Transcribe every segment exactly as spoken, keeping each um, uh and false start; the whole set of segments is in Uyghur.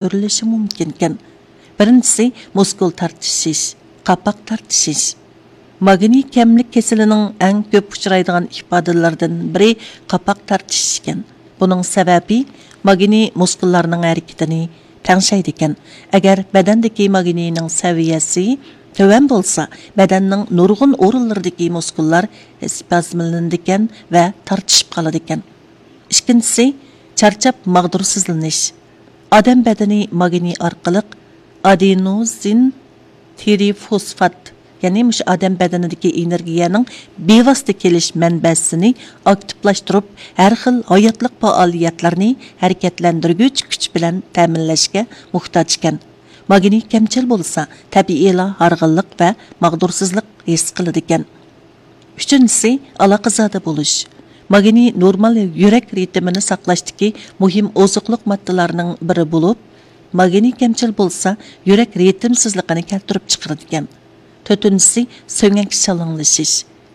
كۆرۈلۈشى مۇمكىنكەن. بىرىنچىسى، مۇسكۇل تارتىشىش، قاپاق تارتىشىش. ماگنىي كەملىك كېسىلىنىڭ ئەڭ كۆپ ئۇچرايدىغان ئىپادىلىرىدىن بىرى قاپاق تارتىشىش ئىكەن. بۇنىڭ سەۋەبى، ماگنىي مۇسكۇللارنىڭ ھەرىكىتىنى تەڭشەيدىكەن. ئەگەر بەدەندىكى ماگنىينىڭ سەۋىيەسى تۆۋەن بولسا، بەدەننىڭ نۇرغۇن ئورۇنلىرىدىكى مۇسكۇللار ئىسپازملىنىدىكەن ۋە تارتىشىپ قالىدىكەن. ئىككىنچىسى، چارچاپ ماغدۇرسىزلىنىش. ئادەم بەدىنى ماگنىي ئارقىلىق ئادېنوزىن ترىفوسفات، يەنى مۇشۇ ئادەم بەدىنىدىكى ئېنېرگىيەنىڭ بىۋاسىتە كېلىش مەنبەسىنى ئاكتىپلاشتۇرۇپ، ھەر خىل ھاياتلىق پائالىيەتلىرىنى ھەرىكەتلەندۈرگۈچ كۈچ بىلەن تەمىنلەشكە موھتاج ئىكەن. ماگنىي كەمچىل بولسا، تەبىئىيلا ھارغىنلىق ۋە ماغدۇرسىزلىق ھېس قىلىدىكەن. ئۈچىنچىسى، ئالاقىزادە بولۇش. ماگنىي نورمال يۈرەك رىتىمىنى ساقلاشتىكى مۇھىم ئوزۇقلۇق ماددىلارنىڭ بىرى بولۇپ، ماگنىي كەمچىل بولسا، يۈرەك رىتىمسىزلىقىنى كەلتۈرۈپ چىقىرىدىكەن. تۆتىنچىسى، سۆڭەك شالاڭلىشىش.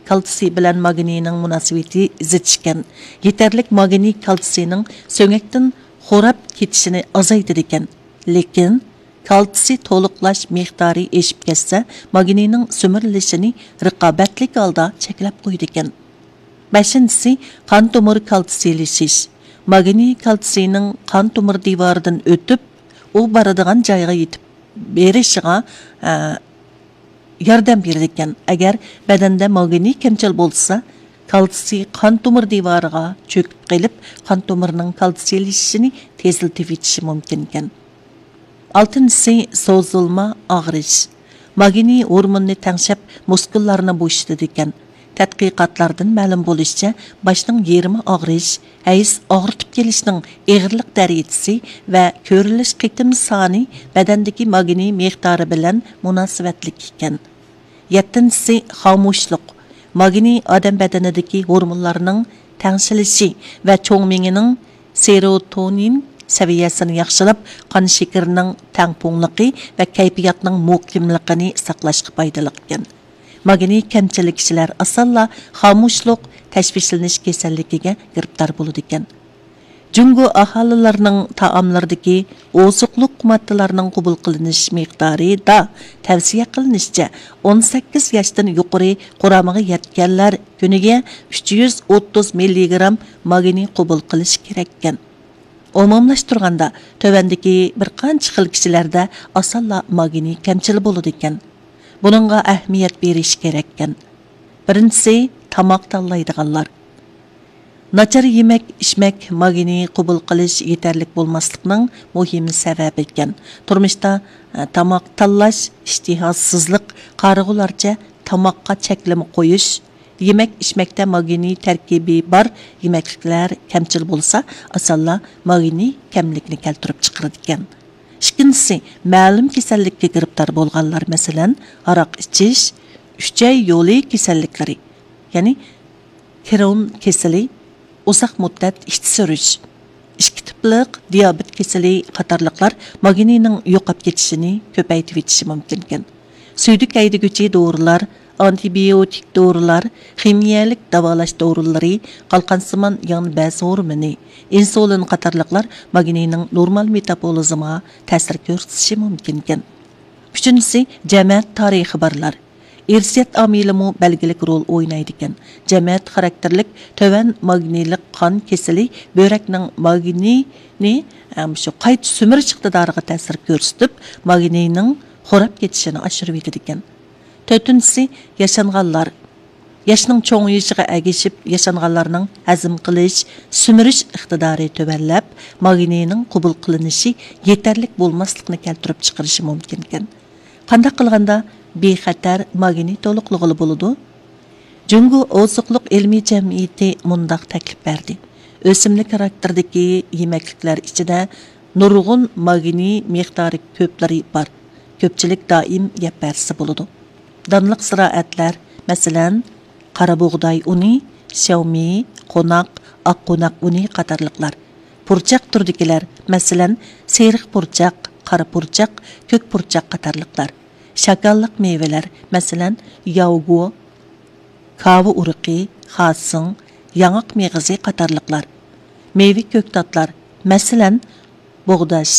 كالتسىي بىلەن ماگنىينىڭ مۇناسىۋىتى زىچ ئىكەن. يېتەرلىك ماگنىي كالتسىينىڭ سۆڭەكتىن خوراپ كېتىشىنى ئازايتىدىكەن. لېكىن، كالتسىي تولۇقلاش مىقدارى ئېشىپ كەتسە، ماگنىينىڭ سۈمۈرۈلۈشىنى رىقابەتلىك ھالدا چەكلەپ قويىدىكەن. بەشىنچىسى، قان تومۇر كالتسىيلىشىش. ماگنىي كالتسىينىڭ قان تومۇر دىۋارىدىن ئۆتۈپ، ئۇ بارىدىغان جايغا يېتىپ بېرىشىغا، ئە، ياردەم بېرىدىكەن. ئەگەر بەدەندە ماگنىي كەمچىل بولسا، كالتسىي قان تومۇر دىۋارىغا چۆكۈپ قېلىپ، قان تومۇرىنىڭ كالتسىيلىشىشىنى تېزلىتىۋېتىشى مۇمكىنكەن. ئالتىنچىسى، سوزۇلما ئاغرىش. ماگنىي ھورموننى تەڭشەپ، مۇسكۇللارنى بوشىتىدىكەن. تەتقىقاتلاردىن مەلۇم بولۇشىچە، باشنىڭ يېرىمى ئاغرىش، ھەيز ئاغرىتىپ كېلىشنىڭ ئېغىرلىق دەرىجىسى ۋە كۆرۈلۈش قېتىم سانى بەدەندىكى ماگنىي مىقدارى بىلەن مۇناسىۋەتلىك ئىكەن. يەتتىنچىسى، خامۇشلۇق. ماگنىي ئادەم بەدىنىدىكى ھورمونلارنىڭ تەڭشىلىشى ۋە چوڭ مېڭىنىڭ سېروتونىن سەۋىيەسىنى ياخشىلاپ، قان شېكىرىنىڭ تەڭپۇڭلۇقى ۋە كەيپىياتنىڭ مۇقىملىقىنى ساقلاشقا پايدىلىق ئىكەن. ماگنىي كەمچىل كىشىلەر ئاسانلا خامۇشلۇق، تەشۋىشلىنىش كېسەللىكىگە گىرىپتار بولىدىكەن. جۇڭگو ئاھالىلىرىنىڭ تائاملىرىدىكى ئوزۇقلۇق ماددىلارنىڭ قوبۇل قىلىنىش مىقدارىدا تەۋسىيە قىلىنىشىچە، ئون سەككىز ياشتىن يۇقىرى قۇرامىغا يەتكەنلەر كۈنىگە ئۈچ يۈز ئوتتۇز مىللىگرام ماگنىي قوبۇل قىلىشى كېرەككەن. ئومۇملاشتۇرغاندا، تۆۋەندىكى بىر قانچە خىل كىشىلەردە ئاسانلا ماگنىي كەمچىل بولىدىكەن. بۇنىڭغا ئەھمىيەت بېرىش كېرەككەن. بىرىنچىسى، تاماق تاللايدىغانلار. ناچار يېمەك، ئىچمەك ماگنىي قوبۇل قىلىش يېتەرلىك بولماسلىقنىڭ مۇھىم سەۋەبى ئىكەن. تۇرمۇشتا، ئە، تاماق تاللاش، ئىشتىھاسىزلىق، قارىغۇلارچە تاماققا چەكلىمە قويۇش، يېمەك، ئىچمەكتە ماگنىي تەركىبى بار يېمەكلىكلەر كەمچىل بولسا، ئاسانلا ماگنىي كەملىكنى كەلتۈرۈپ چىقىرىدىكەن. ئىككىنچىسى، مەلۇم كېسەللىككە گىرىپتار بولغانلار، مەسىلەن، ھاراق ئىچىش، ئۈچەي يولى كېسەللىكلىرى، يەنى كرون كېسىلى، ئۇزاق مۇددەت ئىچى سۈرۈش، ئىككى تىپلىق دىيابېت كېسىلى قاتارلىقلار ماگنىينىڭ يوقاپ كېتىشىنى كۆپەيتىۋېتىشى مۇمكىنكەن. سۈيدۈك ھەيدىگۈچى دورىلار، ئانتىبىيوتىك دورىلار، خىمىيەلىك داۋالاش دورىلىرى، قالقانسىمان يانبەز ھورمونى، ئىنسۇلىن قاتارلىقلار ماگنىينىڭ نورمال مېتابولىزمىغا تەسىر كۆرسىتىشى مۇمكىنكەن. ئۈچىنچىسى، جەمەت تارىخى بارلار. ئىرسىيەت ئامىلىمۇ بەلگىلىك رول ئوينايدىكەن. جەمەت خاراكتېرلىك تۆۋەن ماگنىيلىق قان كېسىلى بۆرەكنىڭ ماگنىينى، ئەم، شۇ قايتا سۈمۈرۈش ئىقتىدارىغا تەسىر كۆرسىتىپ، ماگنىينىڭ خوراپ كېتىشىنى ئاشۇرۇۋېتىدىكەن. تۆتىنچىسى، ياشانغانلار. ياشنىڭ چوڭىيىشىغا ئەگىشىپ، ياشانغانلارنىڭ ھەزىم قىلىش، سۈمۈرۈش ئىقتىدارى تۆۋەنلەپ، ماگنىينىڭ قوبۇل قىلىنىشى يېتەرلىك بولماسلىقنى كەلتۈرۈپ چىقىرىشى مۇمكىنكەن. قانداق قىلغاندا بىخەتەر ماگنىي تولۇقلىغىلى بولىدۇ؟ جۇڭگو ئوزۇقلۇق ئىلمىي جەمئىيىتى مۇنداق تەكلىپ بەردى: ئۆسۈملۈك خاراكتېرىدىكى يېمەكلىكلەر ئىچىدە نۇرغۇن ماگنىي مىقدارى كۆپلىرى بار، كۆپچىلىك دائىم يەپ بەرسە بولىدۇ. دانلىق زىرائەتلەر، مەسىلەن، قارا بۇغداي ئۇنى، شياۋمىي، قوناق، ئاق قوناق ئۇنى قاتارلىقلار. پۇرچاق تۈرىدىكىلەر، مەسىلەن، سېرىق پۇرچاق، قارا پۇرچاق، كۆك پۇرچاق قاتارلىقلار. شاكاللىق مېۋىلەر، مەسىلەن، ياۋگو، كاۋا ئۇرۇقى، خاسىڭ، ياڭاق مېغىزى قاتارلىقلار. مېۋە كۆكتاتلار، مەسىلەن، بوغداش،